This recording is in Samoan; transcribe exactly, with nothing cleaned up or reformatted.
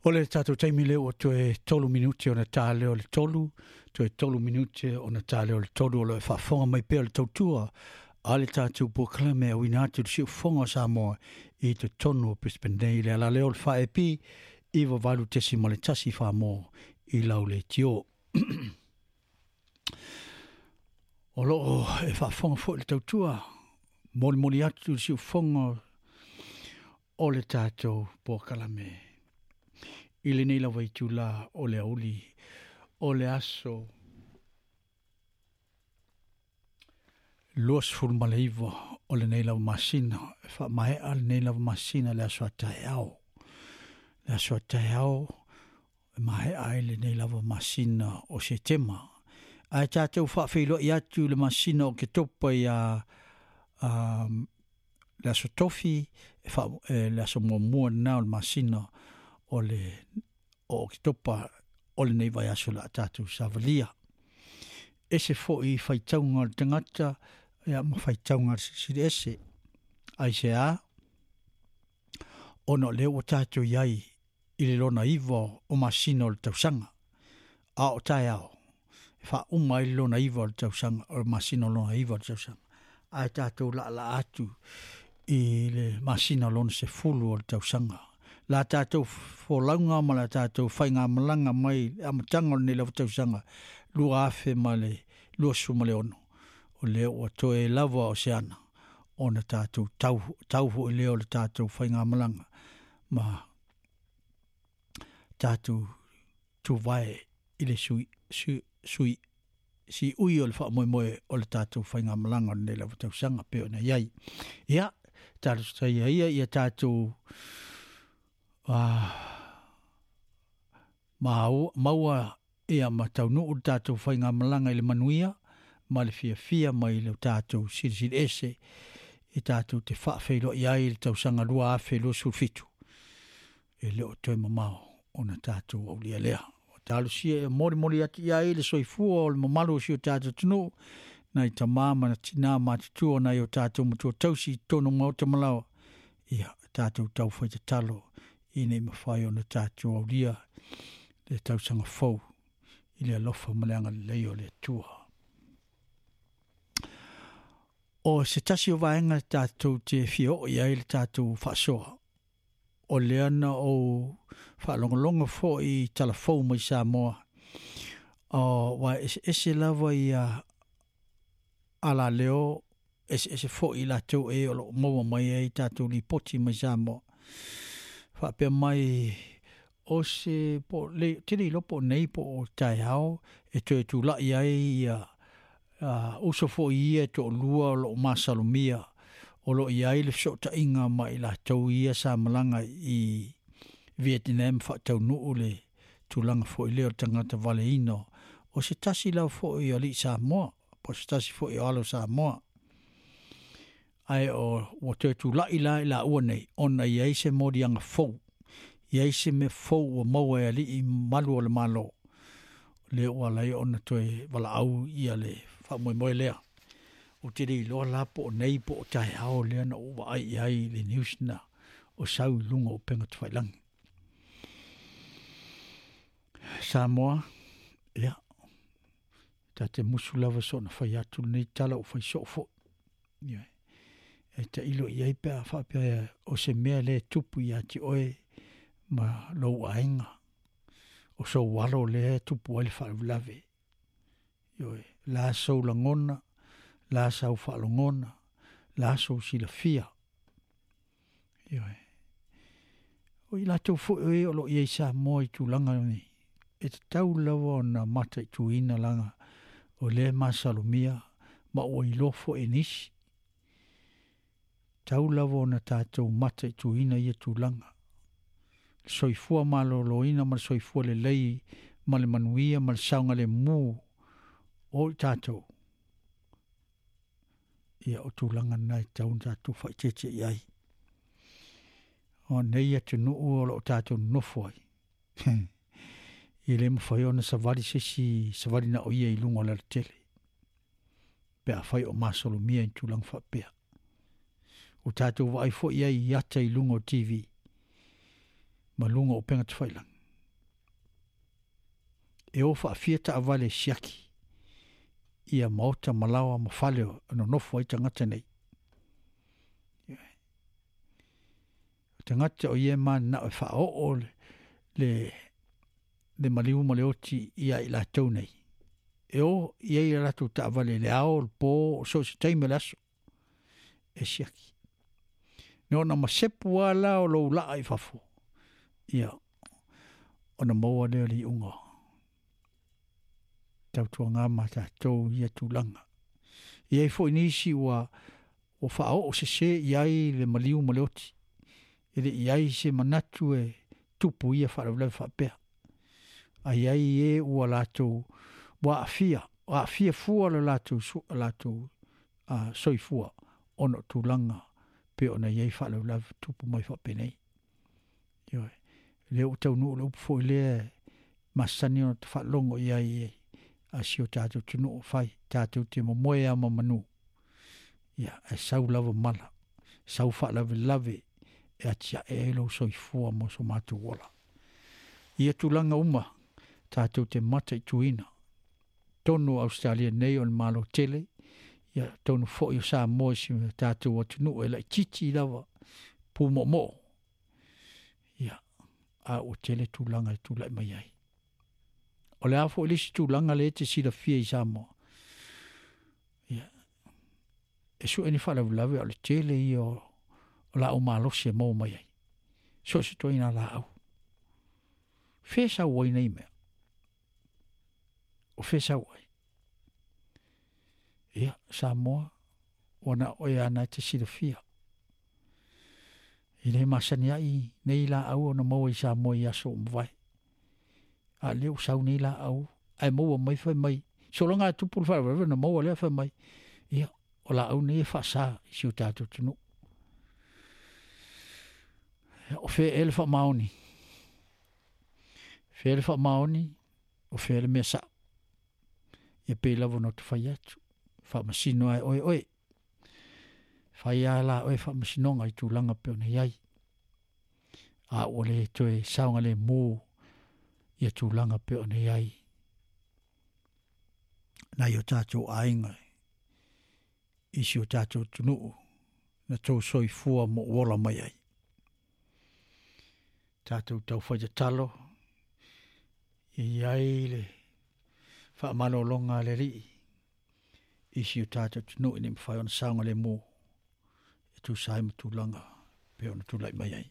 O le tātou taimi lea ua toe tolu minute ona tā lea o le tolu, toe tolu minute ona tā lea o le tolu o lo e faafofoga mai pea le tautua a le tātou polokalame auina atu i le siufofoga o Samoa i totonu o Brisbane nei le ala lea o le fa E P iva valu tesi ma le tasi Samoa i lau leitio. O loo e faafofoga foi le tautua molimoli atu i le siufofoga o le tātou polokalame i lenei lava itula o le aoauli o le aso luasefulu ma le iva o lenei lava masina e faamaea lenei lava masina le aso a taeao le aso a taeao e maea ai lenei lava masina o Setema ae tatou faafeiloai atu i le masina o Oketopa ia um, le aso Tofi e fa, e, le aso muamua lena o le masina o le o Oketopa o lenei vaiaso la tatou savalia. Ese foi faitauga o le tagata ia ma faitauga a le Silisili Ese. Aisea? Ona o lea ua tatou i ai i le lona iva o masina o le tausaga. A o taeao, e faauma ai le lona iva o le tausaga, o le masina o lona iva o le tausaga. Ae tatou laalaa atu i le masina o lona sefulu o le tausaga. La tatou folauga ma la tatou faigamalaga mai le amataga o lenei lava tausaga lua afe ma le luasefulu ma le ono. O lea ua toe lava o se ana ona tatou tau, tau foi lea o le tatou faigamalaga ma tatou tuvae i le sui, sui, sui si ui o le faamoemoe o le tatou faigamalaga o lenei lava tausaga pe ona i ai. Ia, tatou ia ia ia tatou uh, maua ia ma taunuu le tatou faigamalaga i le manuia ma le fiafia mai le tatou Silisili Ese e tatou te faafeiloai ai le tausaga lua afe luasefulu fitu. E le o toe mamao ona tatou aulia lea. O talosia e molimoli atu i ai le soifua o le mamalu o si o tatou atunuu, nai tamā ma na tinā matutua nai o tatou matua tausi i totonu o maota ma laoa. Ia, tatou taufai tatalo ina ia mafai ona tatou aulia le tausaga fou i le alofa ma le agalelei o le Atua. O se tasi o vaega tatou te fia oo i ai le tatou faasoa, o lea na ou faalogologo foi i talafou mai Samoa, o ua eseese lava ia alaleo, eseese foi i latou e o loo maua mai ai tatou lipoti mai Samoa. Faapea mai o se po le te le iloa po o nei po o taeao e toe tulai ai ia uh, uso foi ia e toalua o loo masalomia o loo i ai le fesootaiga ma i latou ia sa malaga i Vietnam faataunuu le tulaga foi lea o le tagata valeina o se tasi lava foi o alii Samoa po o se tasi foi o alo Samoa. Ae o ua toe tulai la i laua nei ona i ai se moliaga fou, i ai se mea fou ua maua e alii malu o le Malo, lea ua ala ai ona toe valaau ia le faamoemoe lea. Ou te le iloa la po o nei po o taeao lea na ou vaai i ai i le news na o sau i luga o upega tafailagi. Samoa, ia, ta te musu lava soona fai atu lenei tala ua fai soo foi. Ioe. E tailo i ai pe a faapea o se mea lea e tupu ia te oe ma lou aiga. O sou alo lea e tupu ai le faalavelave. Ioe, la sou lagona, la sau faalogona, la sou silafia. Ioe. O i latou foi o e o loo i ai Samoa i tulaga nei, e tatau lava ona mataituina laga o lea e masalomia ma ua iloa foi e nisi. Tau lava ona tatou mataituina ia tulaga. Le soifua maloloina ma le soifua lelei ma le manuia ma le saogalemu o i tatou. Ia o tulaga na e tatau ona tatou faaeteete i ai. O nei atunuu o loo tatou nonofo ai. E le mafai ona savali se isi savali na o ia i luga o le alatele. Pe afai o masalomia i tulaga faapea. O tatou vaai foi ai i ata i luga o T V ma luga o upega tafailagi. E o faafia taavale siaki ia maota ma laoa ma fale o nonofo ai tagata nei. O tagata o ia e mananao e faaoo le, le, le maliu ma le oti ia i latou nei. E o i ai a latou taavale i le ao, le po, o so o se taimi o le aso e siaki. Ne ona masepu lava la o lou laa i fafo, ia ona maua lea o le iuga. Tautuaga ma tatou ia tulaga. E i ai foi nisi ua ua faaoo sesē i ai le maliu ma le oti. E le i ai se manatu e tupu ia faalavelave faapea. Ae i ai e ua latou ua aafia, aafia fua le latou latou uh, soifua ona o tulaga pe ona i ai faalavelave tupu mai faapenei. Ioe, lea ua taunuu le upu foi lea masani ona faalogo i ai a si o tatou atunuu fai, tatou te momoe lava ma manu. Ia, ae sau lava mala, sau faalavelave e atiae ai lou soifua mo so matou ola. Ia tulaga uma tatou te mataituina. Tonu o Ausetalia nei o le Malo tele, ia tonu foi o Samoa i si o tatou atunuu e laitiiti lava pumoomoo. Ia, a ua tele tulaga e tulai mai ai. O le a foi le isi tulaga lea e te silafia i Samoa. Ia, e sue ni faalavelave o le tele ia o, o laau malosi e maua mai ai. So o se ituaiga laau. Fea sau ai nei mea? O fea sau ai? Ia, Samoa, ua na o oe lava na e te silafia. E le masani ai nei laau ona maua i Samoa i aso ua mavae. A lea ua sau nei laau, ae maua mai fai mai, sologa e tupu le faalavelave ona maua lea fai mai, ia, o laau nei e faasa i si o tatou atunuu. O fea ea le faamaoni? Fea le faamaoni, o fea le mea sao? Ia pei lava ona ou fai atu, faamasino lava e oe oe. Fai lava la oe faamasinoga i tulaga pei ona i ai. A ua le toe saogalemu ia tulaga pei ona i ai nai o tatou aiga i si o tatou atunuu na tou soifua ma ou ola mai ai. Tatou taufai tatalo, ia i ai le faamalologa a le Alii i si o tatou atunuu ina ia mafai ona saogalemu e tusa ai ma tulaga pei ona tulai mai ai.